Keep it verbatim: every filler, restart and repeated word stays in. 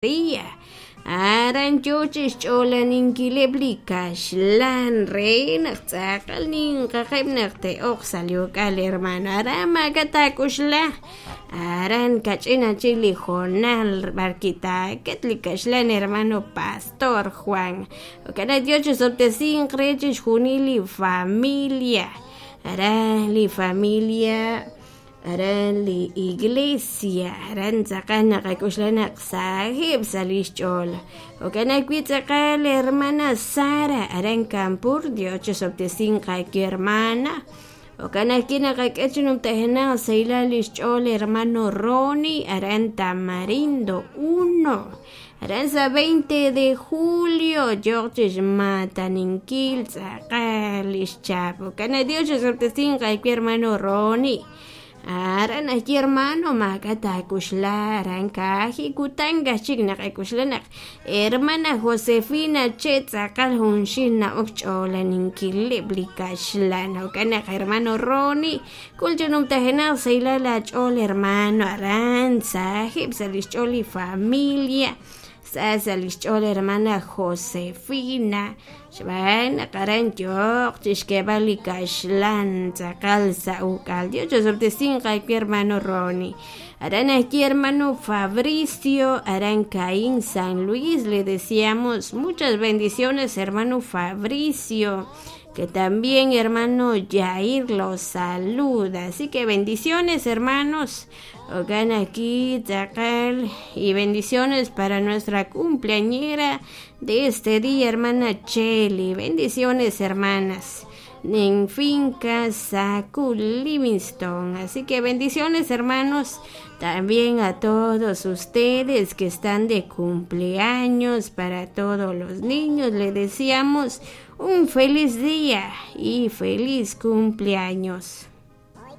Maria aran yoo chixch'oolaninkileb' li kaxlan re naq tz'aqal ninqaqeb' naq te'oq sa' li uk'al hermano aran maak'a' taak'uxlaj aran kach'in achik li hoonal b'arwi' taaket li kaxlan hermano Pastor Juan jo'kan naq Dios chisob'tesinq re chixjunil li familia aran li familia aran li iglesia aran tz'aqal naqak'uxla naq sajeb' sa' li xch'ool jo'kan ajwi' tz'aqal hermana Sara aran Campur Dios chisob'tesinq aawe hermana jo'kan ajwi' naqak'e chi numtajenaq sahilal li xch'ool hermano Roni aran Tamarindo uno aran sa' veinte de julio yooq chixmataninkil tz'aqal li xchap jo'kan naq Dios chisob'tesinq aawe hermano Roni aran ajwi' hermano maak'a' taak'uxla aran kaji kutan kajchik naqak'uxla naq hermana Josefina che tz'aqal junxil na'ok ch'oolaninkileb' li kaxlan jo'kan naq hermano Roni k'ul chi numtajenaq sahilal aach'ool hermano aran sajeb' sa' li xch'ool li familia sa sa' li xch'ool hermana Josefina xb'aan naq aran yooq chixk'eeb'al li kaxlan tz'aqal sa' uk'al Dios chisob'tesinq aawe hermano Roni aran ajwi' hermano Fabricio aran Caín San Luis le deseamos muchas bendiciones hermano Fabricio que también hermano Jair los saluda así que bendiciones hermanos Ogan aquí tz'aqal y bendiciones para nuestra cumpleañera de este día hermana Cheli bendiciones hermanas en finca Sacul Livingston así que bendiciones hermanos también a todos ustedes que están de cumpleaños para todos los niños le deseamos un feliz día y feliz cumpleaños.